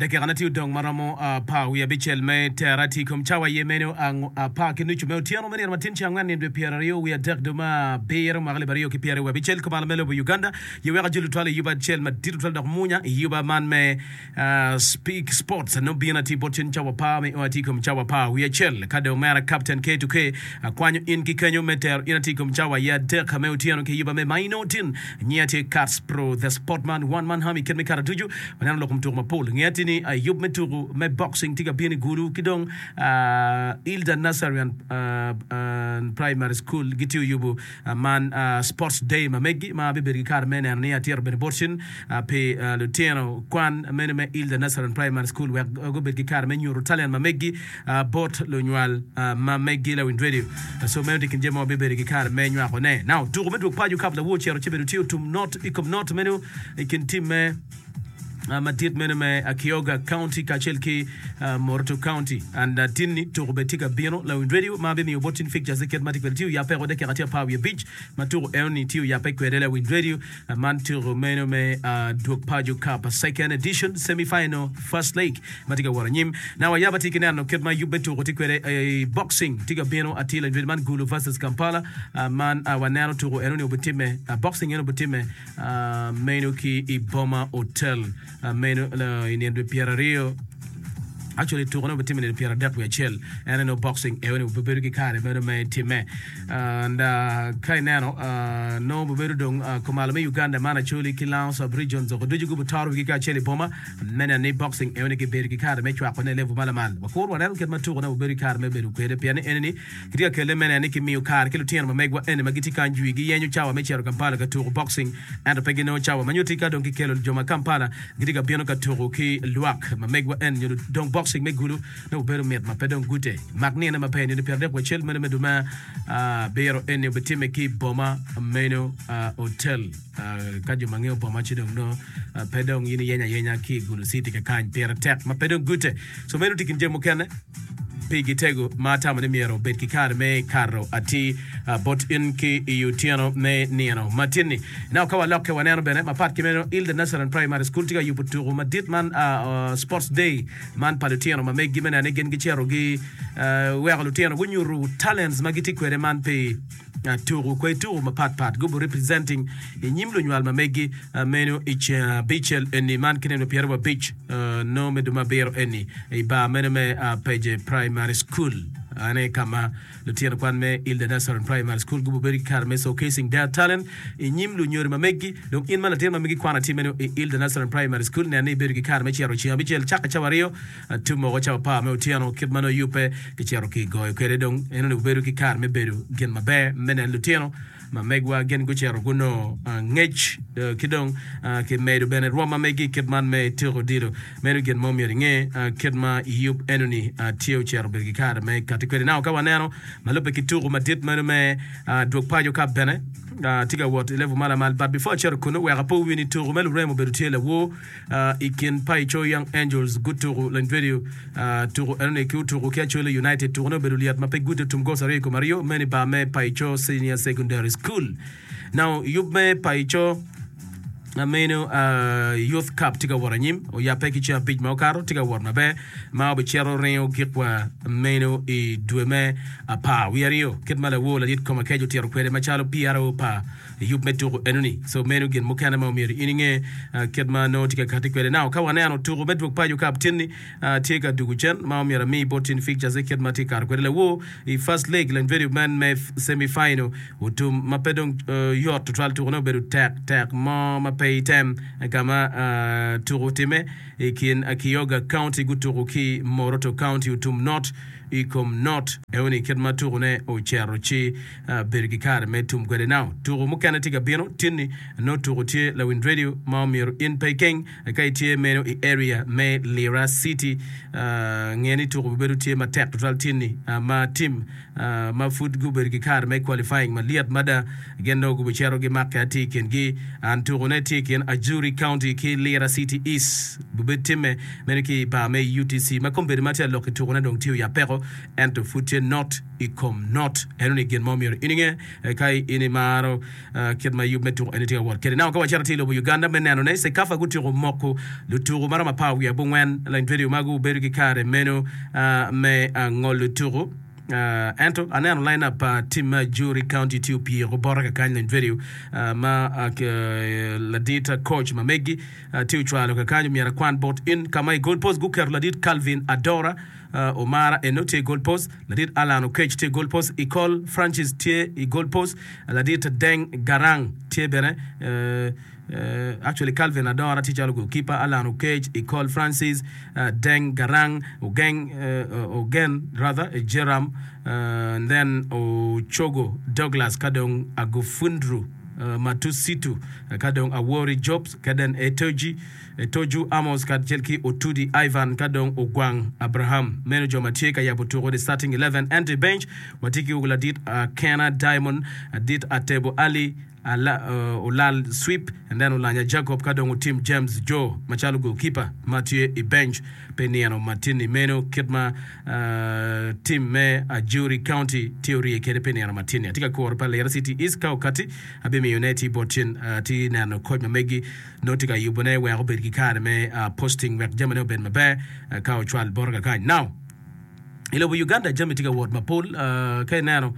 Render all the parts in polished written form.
Dakikane tye odong ma romo apar wiye abicel me tera tye i kom cawa aye meno apar ki nucu me otyeno me nino matin ceng angwen nino dwe pyeraryo wiye adek dwe me abiro mwaka alip aryo ki pyeraryo wiye abicel kumalo me lobo Uganda ye weko ajoli twal i yuba acel madit tutwal dok munya i yuba man me Speak Sports nongo bino atir bot cen cawa apar me o atir i kom cawa apar wiye acel ka dong omera Captain K2K akwanyo in ki kenyo me tero in atir i kom cawa aye adek me otyeno ki yuba me Maino Tin Nyinga tye Kats Pro The Sportman One Man Army kit me kare ducu waneno lok kom tuko mapol. Ngeya tye ni yub me tuko me boxing tye ka bino i Gulu ki dong Hilda Nursery and Primary School gitye oyubo man Sports Day ma megi ma abibedo ki kare me neno ni atito bene bot cen pi lutino kwan meno me Hilda Nursery and Primary School wek gubed ki kare me nyuto talent ma megi bot lunywal ma megi lawiny radio. So meno tye kin jami ma wabibedo ki kare me nywako ne. Now, tuko me dwog paco kap lawor cito ci bedo tye otum not i kom not meno i kin tim me madit meno me Kioga County kacel ki Moroto County. And tinni tuko bene tye ka bino lawiny radio ma bimiyo bot tin fixtures kit ma tye kwede tye oyape o dakika tye apar wiye abic ma tuko enoni tye oyape kwede lawiny radio. Man tuko meno me Dwog Paco Cup Second Edition Semi Final First Leg ma tye ka wot anyim. Now ayaba tye ki neno kit ma yub me tuko tye kwede i boxing tye ka bino atir lanyut man Gulu versus Kampala. Man waneno tuko enoni obitimme boxing eno obitimme meno ki i Boma Hotel meno i nino dwe pyeraryo. Actually tukone obitimme nino pyeradek wiye acel en aye nongo boxing eo-ni obibedo ki kare meno me timme and ka ineno nongo obibedo dong kumalo me Uganda man Acholi ki Lango sub regions oko ducu gubitoro wigi kacel i boma me neno ni boxing eo-ni kibedo ki kare me cwakone i level ma lamal. Wakur waneno kit ma tukone obibedo ki kare me bedo kwede pien ni eni-ni kitye ka kelle me neno ni kimiyo kare ki lutino ma megwa eni ma gitye kany jwi giyenyo cawa me cito Kampala ka tuko boxing ento pe ginongo cawa ma nyutti ka dong kikelo jo ma Kampala Gitye ka bino ka tuko ki lwak ma megwa en nyo dong boxing me gulu nongo obedo mit ma pe dong gute. Mak nine maber nino pyeradek wacel meno me dwe me abiro eni obitimme ki boma meno hotel. Ka jo ma ngeyo boma ci dong nongo pe dong in iyenyo ayenya ki i Gulu City kakany pire tek ma pe dong gute. So meno tye kin jami mukene. Pigi tego ma atamo ni myero obed ki kare me kato atir bot in ki i otyeno me nino ma tin-ni. Now ka walokke waneno bene mapat ki meno Hilda Nursery and Primary School tye ka yubo tuku madit man Sports Day man pa lutino ma meggi me neno ni gin gicito gi weko lutino gunyuto talents ma gitye kwede man pi tuku kwe tuku mapat pat gubu representing i nyim lunywal ma meggi meno i ceng abicel eni man ki nino pyeraryo abic nongo me dwe me abiro eni i bar meno me Peje Primary School en aye ka ma lutino kwan me Hilda Nursery Primary School gubu bedo ki kare me showcasing their talent i nyim lunyodo ma meggi dong in ma latin ma megi kwan atir meno i Hilda Nursery Primary School nen ni ibedo ki kare me cito i ceng abicel cake cawa aryo Tum woko cawa apar me otyeno, kit ma nongo yubbe kicito ki goyo kwede dong en onongo bedo ki kare me bedo gin maber me neno lutino ma megwa gin gucito gunongo ngec ki dong kimedo bene rwom ma megi kit man me tuko odilo. Meno gin mo myero inge kit ma yub enoni tye ocito bedo ki kare me kati kwede. Now ka waneno ma lubbe ki tuko madit meno me dwog paco cup bene tye ka wot i level ma lamal but before acito kunu wek apo wi ni tuko me lurem obedo tye lawor. I kin Paicho Young Angels gutuku Lanyvedio tuku enoni ki otuku ki Acholi United. Tukune obedo lyet ma pe gute tum goals aryo i kom aryo meno i bar me Paicho Senior Secondary School. Now yub me Paicho meno Youth Cup tye ka wot anyim oyabbe ki ceng abic ma okato tye ka wot maber ma obicito ringo gik wa meno i dwe me apar wiye aryo kit ma lawor ladit kom akec otito kwede macalo PRO pa Yub me tuku enoni. So meno gin mukene ma omyero in inge kit ma nongo tye ka kati kwede. Now ka waneno tuku me dwog paco cup tin ni tye ka dugu cen ma omyero ami bot tin fixtures kit ma tye kato kwede lawor i first leg Lanyvedio man me semi final otum ma pe dong yot tutwal tuku ne obedo tek tek mo ma pe item ka ma tuku otime i kin Kioga County gutuku ki Moroto County otum not i kom not enoni kit ma tuku ne ocero ci bedo ki kare me tum kwede. Now, tuku mukene tye ka bino tinni, nongo tuku tye lawiny radio ma omyero in pe ikeng ka itye meno i area me Lira City. Nge ni tuku bibedo tye matek tutwal tinni ma team ma pud gubedo ki kare me qualifying malyet mada gin nongo gubicito gimakke atir i kingi. And tukune tye i kin Ajuri County ki Lira City East. Bubed timme meno ki i bar me UTC ma kombeddi ma tye alok i tukune dong tye oyab peko ento pud tye not i kom not. Enoni gin ma omyero in inge ka in imaro kit ma yub me tuko eni tye ka wot kwede. Now ka wacito atir i lobo Uganda me neno ne CECAFA gutyeko moko lutuku maromo 19 lanyvedio ma gubedo ki kare meno me ngolo tuku. Ento aneno line up pa team me Ajuri County tye opyeko bota kakany lanyvedio ma ladit coach ma megi Tye ocwalo kakany omyero akwan bot in ka ma i goal post guketo ladit Calvin Adora Omara eno tye i goal post, ladit Allan Oketch tye i goal post, Ecol Francis tye i goal post, ladit Deng Garang tye bene actually Calvin Adora tye calo goal keeper, Allan Oketch, Ecol Francis, Deng Garang, Ogeng Ogen rather Jeram and then Ochogo Douglas ka dong Agufundru Matusitu, ka dong Awori Jobs, ka den Etoji, Etoju Amos kacel ki Otudi Ivan, ka dong Ogwang Abraham. Meno jo ma tye ka yabo tuko the starting 11. Ento i bench, watye ki ladit Akena Diamond, ladit Atebo Ali, Ala, Olal Sweep, and then Olanya Jacob, ka dong Otim James Joe macalo goalkeeper ma tye i bench pi nino matin-ni. Meno kit ma Tim me Ajuri County tye orye kwede pi nino matin-ni. Atye ka kuro pa Lira City East ka okati, abimiyone ci bot cen. Atye neno koc ma megi nongo tye ka yubone wek obed ki kare me posting wek jamine obed maber ka ocwal bote kakany. Now, i lobo Uganda jami tye ka wot mapol. Ka ineno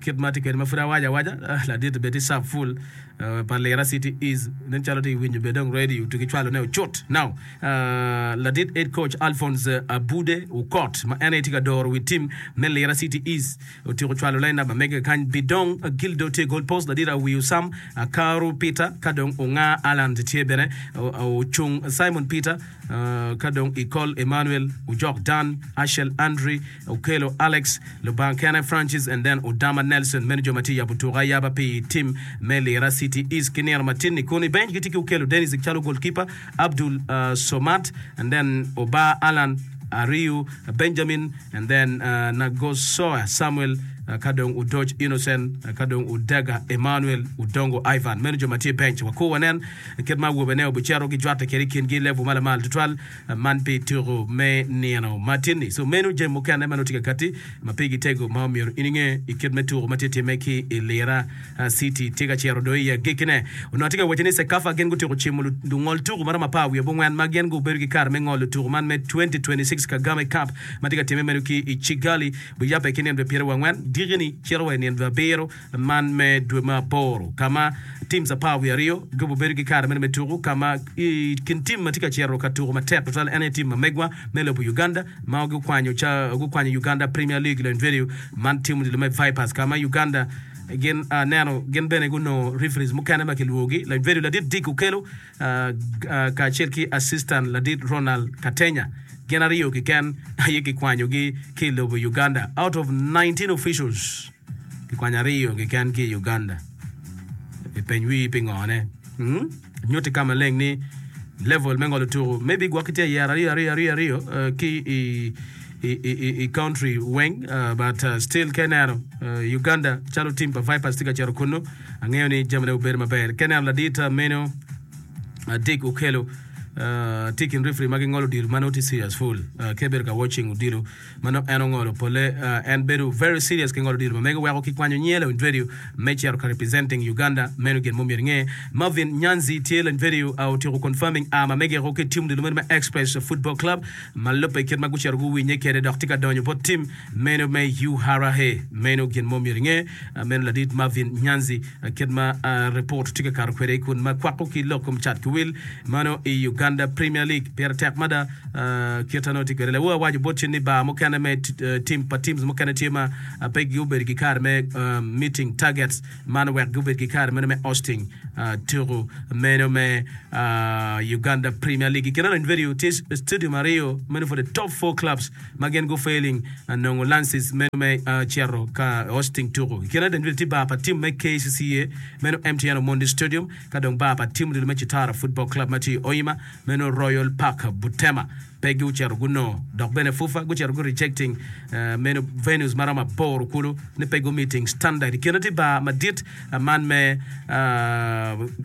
kit ma tye kwede ma pud awaco awaca, ladit bed tye sub full pa Lira City East nen calo tye ka winyo bene dong radio to ki cwalone ocut. Now, Ladit head coach Alphonse Abude Okot ma en aye tye ka doro wi tim me Lira City East otyeko cwalo line up ma mege kany Bidong Gildo tye goal post, ladit Awiyo Sam Akaru Peter ka dong Onga Alan tye bene Ocung Simon Peter ka dong Ikol Emmanuel Ojok Dan Ashel Andre Okello Alex Lubanga kene Francis and then Odama Nelson meno jo ma tye yabo tuko ayaba pi tim me Lira City East ki nino matin-ni kun i bench gitye ki Okello Dennis calo goalkeeper Abdul Somad and then Oba Allan Ariu Benjamin and then Nagosoa Samuel ka dong Odoc Innocent ka dong Odega Emmanuel Odongo Ivan meno jo ma tye i bench wakur wanen kit ma awobene obicito gijwatte kwede i kingi level ma lamal tutwal Man pi tuku me nino ma tin-ni. So meno jami mukene ma nongo tye ka katti ma pigi tego ma omyero in inge i kit me tuku ma tye timme ki i Lira City tye ka cito do i agikkine. Onongo atye ka waco ni CECAFA gin gutyeko cimo lungol tuku ma romo 18 ma gin gubedo ki kare me ngolo tuku man me 2026 Kagame Cup ma tye ka timme meno ki i Kigali biyabbe ki nino dwe 24 diki-ni cito wa i nino dwe abiro man me dwe me aboro ka ma teams 12 gubedo ki kare meno me tuku ka ma i kin tim ma tye ka cito ka tuku matek tutwal en aye tim ma megwa me lobo Uganda ma gukwanyo ca gukwanyo Uganda Premier League lony vedio man tim odilo me Vipers ka ma Uganda gin aneno gin bene gunongo referees mukene ma kilwogi lony vedio ladit Dick Okello kacel ki assistant ladit Ronald Katenya gin aryo keken aye kikwanyogi ki i lobo Uganda out of 19 officials. Kikwanyo aryo keken ki i Uganda. Ipeny wii pingone. Hmm? Nyutti ka maleng ni level me ngolo tuku maybe gwok kitye yero aryo aryo aryo aryo uh, ki i i, i, i country weng uh, but uh, still ka ineno uh, Uganda calo team pa Vipers tye ka cito kunu angeyo ni jamine obedo maber ka ineno ladit uh, meno uh, Dick Okello uh, tye i kin referee ma gingolo odilo ma nongo tye serious full uh, ka ibedo ka watching odilo ma nongo en ongolo pole en bedo very serious ki ngolo odilo ma mege weko ki kwanyo nyinge lawiny radio me cito ka representing Uganda meno gin mo myero inge Marvin Nyanzi tye lawiny radio otyeko confirming a ma mege ko ki team odilo meno me Express Football Club ma lubbe kit ma gucito guwinye kwede dok tye ka donyo bot team meno me URA meno gin mo myero inge meno ladit Marvin Nyanzi kit ma report tye ka kato kwede kun ma kwako ki lok kom cat ki wil mano i Uganda Premier League pire tek mada Kit ma nongo tye kwede, lawo awaco bot cen ni bar mukene me tim pa teams mukene tye ma pe gubedo ki kare me meeting targets man wek gubed ki kare meno me hosting tuku meno me Uganda Premier League. I kine lony video tye stadium aryo meno for the top four clubs ma gin gu failing nongo lances meno me cito ka hosting tuku. I kine lony video tye bar pa team me KCCA meno MTN Omondi Stadium ka dong bar pa team me Chitara Football Club ma tye i Hoima meno Royal Park Butema. Pe gucito gunongo dok bene FUFA gucito gu rejecting meno venues maromo aboro kulu ni pe gu meeting standard. I kine tye bar madit man me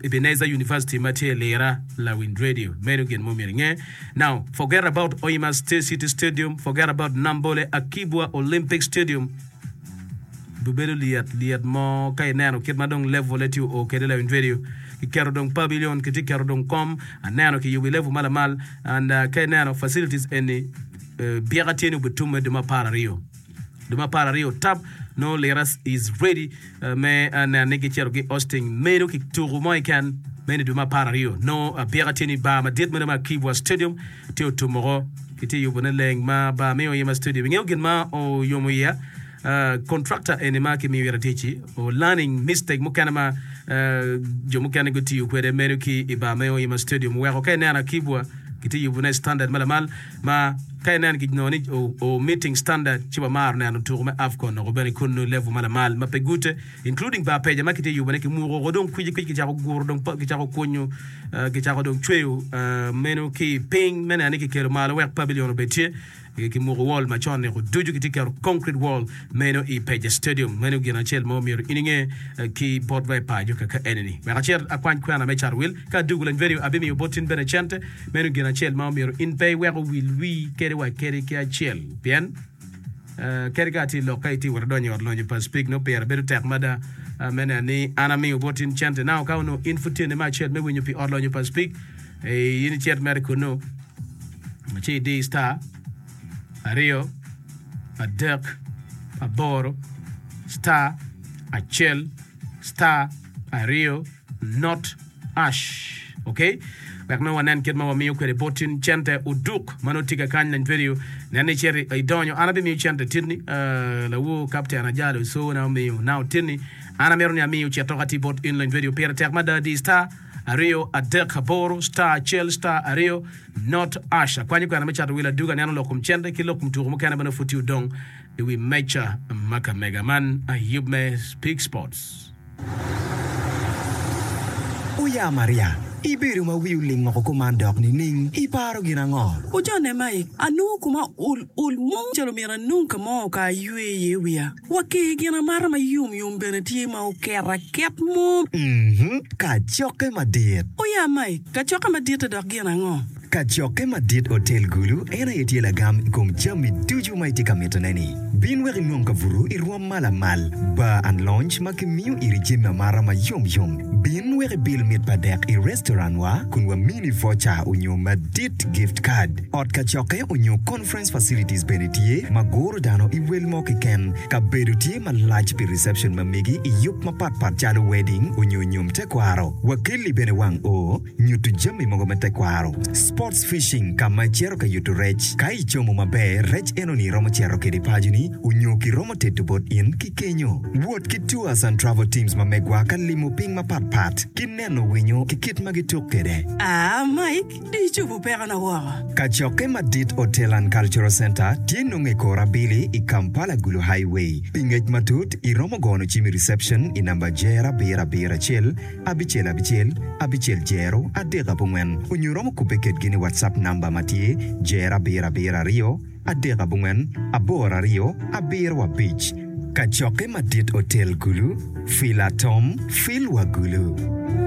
Ebenezer University ma tye i Lira Lawiny Radio. Meno gin mo myero inge. Now forget about Hoima City Stadium, forget about Nambole Akibwa Olympic Stadium. Bibedo lyet lyet mo ka ineno kit ma dong level-le tye oo kwede lawiny radio. Kiketo dong pavilion, kitye keto dong kom, aneno kiyubo i level ma lamal and ka ineno facilities eni byeka tye ni obitumme dwe me 12. Dwe me 12 tap nongo lira is ready me neno ni gicito gi hosting meno ki tuku mo keken meno i dwe me 12 nongo byeka tye ni bar madit meno me Akibwa Stadium tye otum woko kitye yubone leng ma bar me Oyema Stadium. Ingeyo gin ma oyomo iya? Contractor eni ma kimiyo ite tic-ci o learning mistake mukene ma jo mukene gutiyo kwede meno ki i bar me Oyema Stadium weko ka ineno Akibwa kitye yubone standard ma lamal ma ka ineno kinongo ni o meeting standard ci wamaro neno tuko me Afcon oko bene kunnu level ma lamal ma pe gute including bar peja ma kitye yubone kimuko oko dong kwicikwic kicako guro dong kicako kunyo kicako dong cweyo meno ki piny me neno ni kikelo malo wek pavilion obed tye. Kimuko wall macon niko ducu kitye keto concrete wall meno i Peja Stadium. Meno gin acel ma omyero in inge ki bot wa i paco kaka enini. Wek acit akwany kwena me cato wil ka adugu lany vedio abimiyo bot in bene cente. Meno gin acel ma omyero in pe iwek owil wii kadi wa kadi ki acel pien kadi ka atye i lok ka itye wot adonyo i ot lonyo pa Speke nongo pire bedo tek mada me neno ni an amiyo bot in cente. Now ka onongo in pud tyene me acel me winyo pi ot lonyo pa Speke in icit mere kunu. Ci idi star aryo adek aboro star acel star aryo not ash ok wek nongo wanen kit ma wamiyo kwede bot in cente oduk ma nongo tye kakany lany vedio nen ni icito idonyo an abimiyo cente titni uh, lawo kapten ajalo cona omiyo now titni an amito ni amiyo cito ka tye bot in lany vedio pire tek mada di star aryo adek aboro star acel star aryo not ash. Akwanyo kwena me cato wil aduga aneno lok kom cente ki lok kom tuko mukene ma nongo pud tye odong i wi meja ma ka mega. Man ayub me Speak Sports. Oya Maria, ibedo ma wi oling woko kuman dok nining? Iparo gin ango? Ojone Mike, anongo koma ol ol mo calo myero anong ka mo ka aywe iye wiya. Wa ki gin amata ma yom yom bene tye ma oket aket mo. Mhm, kacokke madit. Oya Mike, kacokke madit-te dok gin ango? Kacokke madit Otel Gulu en aye tye lagam i kom jami ducu ma itye ka mitone-ni. Bin wek inong kabuto i rwom ma lamal, bar and lounge ma kimiyo iri jami amata ma yom yom. Bin wek ibil mit pa dek i restaurant wa kun wamini voucher onyo madit gift card. Ot kacokke onyo conference facilities bene tye ma guro dano i wel mo keken. Kabedo tye malac pi reception ma megi i yub mapat pat calo wedding onyo nyom tekwaro. Wakelli bene wang oo, nyuto jami mogo me tekwaro. Sports fishing ka ma icito ka yuto rec. Ka icomo maber, rec enoni iromo cito kede paconi onyo kiromo teto bot in ki kenyo. Wot ki tours and travel teams ma megwa ka limo piny mapat pat ki neno winyo ki kit ma gituk kede. Aa Mike, di icobo pekona woko. Kacokke madit Hotel and Cultural Centre tye nongo i kor abili i Kampala Gulu Highway. Pi ngec matut, iromo gono cim i reception i namba jer abiro abiro acel, abicel abicel, abicel jero, adek abongwen onyo iromo kubbe kedgi ni WhatsApp namba ma tye jer abiro abiro aryo, adek abongwen, aboro aryo, abiro abic. Kacokke madit Otel Gulu, Fil Atom, Fil wa Gulu.